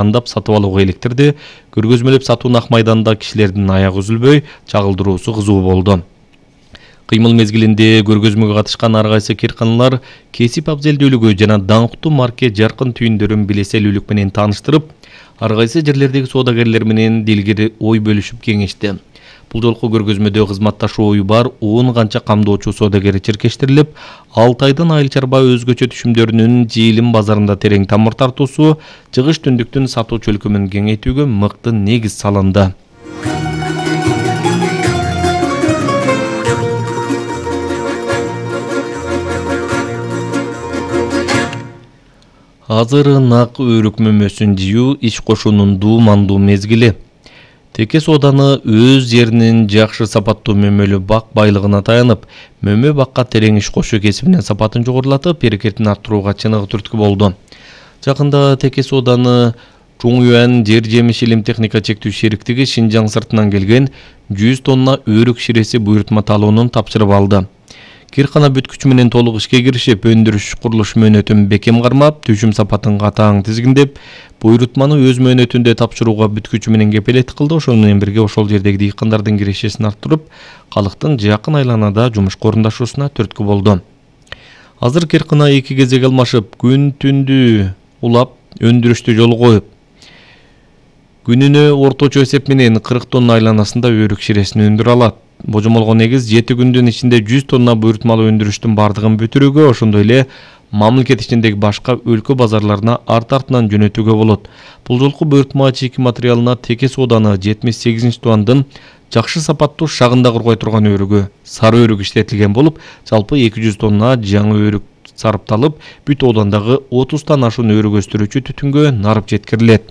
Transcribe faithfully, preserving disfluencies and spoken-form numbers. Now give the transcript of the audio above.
андап сатып алууга иликтирди. Көргөзмөлөп сатуу ак майданда кишилердин аягы үзүлбөй, чагылдыруусу кызуу болду. Кыймыл мезгилинде көргөзмөгө катышкан ар кайсы кирканалар кесип абзелдүүлүгү жана даңктуу марке жаркын түйүндөрүн билеселүүлүк менен тааныштырып, ар кайсы жерлердеги соодагерлер менен дилгири ой бөлүшүп кеңешти. Бул жолку көргөзмөдө кызматташууы бар он канча камдоочу соодагер чиркештирилип, алты айдан айыл чарба өзгөчө түшүмдөрүнүн жыйылым базарында терең тамыр тартуусу, чыгыш түндүктүн сатуу чөлкөмүн кеңейтүүгө мыкты негиз салынды. Азыр нак өрүк мөмөсүн жыюу иш кошуунун дуумандуу мезгили. Теке сооданы өз жеринин жакшы сапаттуу мөмөлүү бак байлыгына таянып, мөмө бакка терең иш кошуу кесибинин сапатын жогорулатып, берекетин арттырууга чыныгы түрткү болду. Жакында теке сооданы Чуңюан жер жемиш илим техника чектүү шериктиги Шинжаң сыртынан келген жүз тонна өрүк ширеси буйрутма талоонун тапшырып алды. Киркана бүткүч менен толук ишке киришип, өндүрүш курулуш мөөнөтүн бекем кармап, түшүм сапатын катаң тизгиндеп, буйрутманы өз мөөнөтүндө тапшырууга бүткүчү менен кепелеттик кылды. Ошол менен бирге ошол жердеги дыйкандардын кирешесин арттырып, калктын жакын айланада жумушка орундашуусуна түрткү болду. Азыр Киркана эки кезек алмашып, күн түндү улап, өндүрүштү жолго коюп, күнүнө орточо эсеп менен кырк тонна айланасында өрүк ширесин өндүрө алат. Божомолго негиз жети күндүн ичинде жүз тонна буйрутмалуу өндүрүштүн бардыгын бүтүрүүгө, ошондой эле мамлекет ичиндеги башка өлкө базарларына арт-артынан жөнөтүүгө болот. Бул жолку буйрутма чийки материалына теке сооданы жетимиш сегизинчи тубандын жакшы сапаттуу шагында кургай турган өрүгү, сары өрүк иштетилген болуп, жалпы эки жүз тонна жаңы өрүк сарыпталып, бүт оодандагы отуздан ашуун өрүк өстүрүүчү түтүнгө нарып жеткирилет.